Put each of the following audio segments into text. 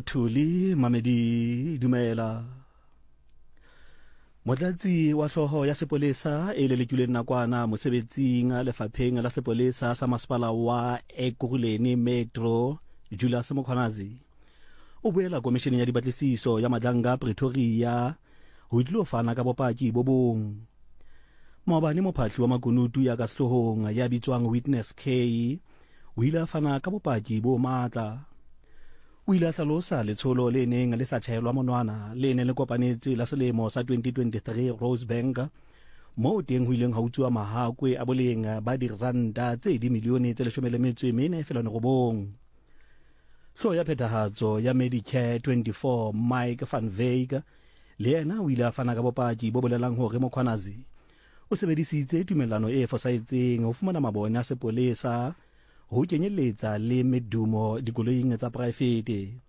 Thuli Mamedi dumela. Motlatsi wa hloho ya sepolesa e lelekilweng nakwana mosebetsing lefapheng la sepolesa sa masepala wa Ekurhuleni Metro Julius Mkhwanazi o boela komisheneng ya dipatlisiso ya Madlanga Pretoria ho tlilo fana ka bopaki bo bong. Maobane mophahli wa makunutu ya ka sehloohong ya bitswang Witness K o ile a fana ka bopaki bo matla. O ile a hlalosa letsholo le neng le sa tjhaelwa monwana le neng le kopanetswe la selemo sa 2023 Rosebank, moo teng ho ileng ha utsuwa mahakwe a boleng ba diranta tse dimilione tse 14.9. Hlooho ya phethahatso ya Medicare 24 Mike van Wyk le yena o ile a fana ka bopaki bo bolelang hore Mkhwanazi o sebedisitse tumellano e fosahetseng ho fumana mabone a sepolesa ho kenyeletsa le medumo dikoloing tsa poraefete.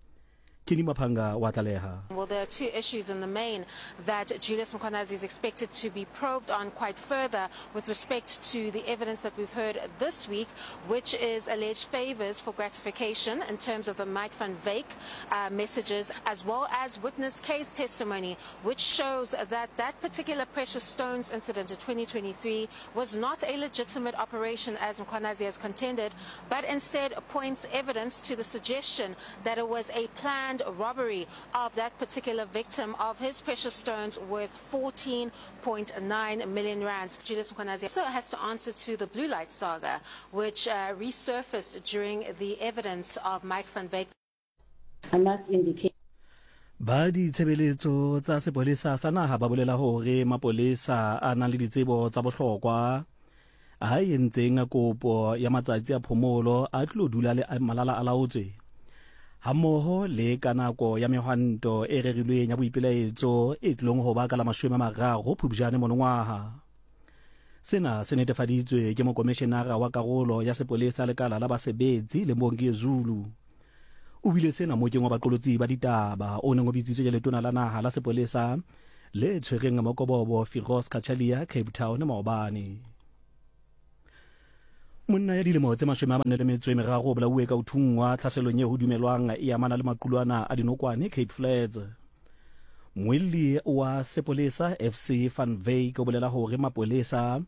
Kenny Maphanga wa tlaleha. Well, there are two issues in the main that Julius Mkhwanazi is expected to be probed on quite further with respect to the evidence that we've heard this week, which is alleged favors for gratification in terms of the Mike van Wyk uh, messages, as well as witness case testimony, which shows that that particular precious stones incident in 2023 was not a legitimate operation as Mkhwanazi has contended, but instead points evidence to the suggestion that it was a planned robbery of that particular victim of his precious stones worth 14.9 million rands. Julius Mkhwanazi also has to answer to the Blue Light saga, which uh, resurfaced during the evidence of Mike van Wyk. I must indicate. Ba ditshebeletso tsa sepolesa sa naha ba bolela hore mapolesa a nang le ditsebo tsa bohlokwa a entseng kopo ya matsatsi a phomolo a tlo dula le malala a laotswe hammoho le ka nako ya mehwanto e rerilweng ya boipelaetso e tlilong ho ba ka la 30 Phupjane monongwaha. Sena se netefaditswe ke mokomishenara wa karolo ya sepolesa lekala la basebetsi le Mbongi Zulu. O buile sena mokeng wa baqolotsi ba ditaba o neng o bitsitswe ke letona la naha la sepolesa le tshwereng mokobobo Firoz Cachalia Cape Town maobane. Monna ya dilemo tse 43 o bolauwe ka ho thunngwa tlhaselong e ho dumelwang e amana le maqulwana a dinokwane Cape Flats. Muelli wa sepolesa FC van Wyk o bolela hore mapolesa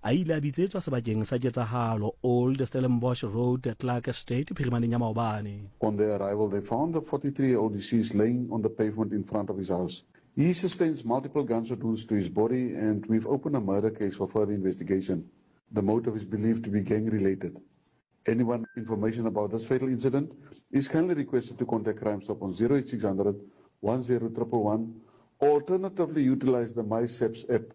a ile a bitsetswa sebakeng sa ketsahalo Old Stellenbosch Road, Clark Estate phirimaneng ya maobane. On their arrival, they found the 43-year-old deceased laying on the pavement in front of his house. He sustains multiple gunshot wounds to his body and we've opened a murder case for further investigation. The motive is believed to be gang-related. Anyone information about this fatal incident is kindly requested to contact Crime Stop on 08600 10111 or alternatively utilize the MySEPS app.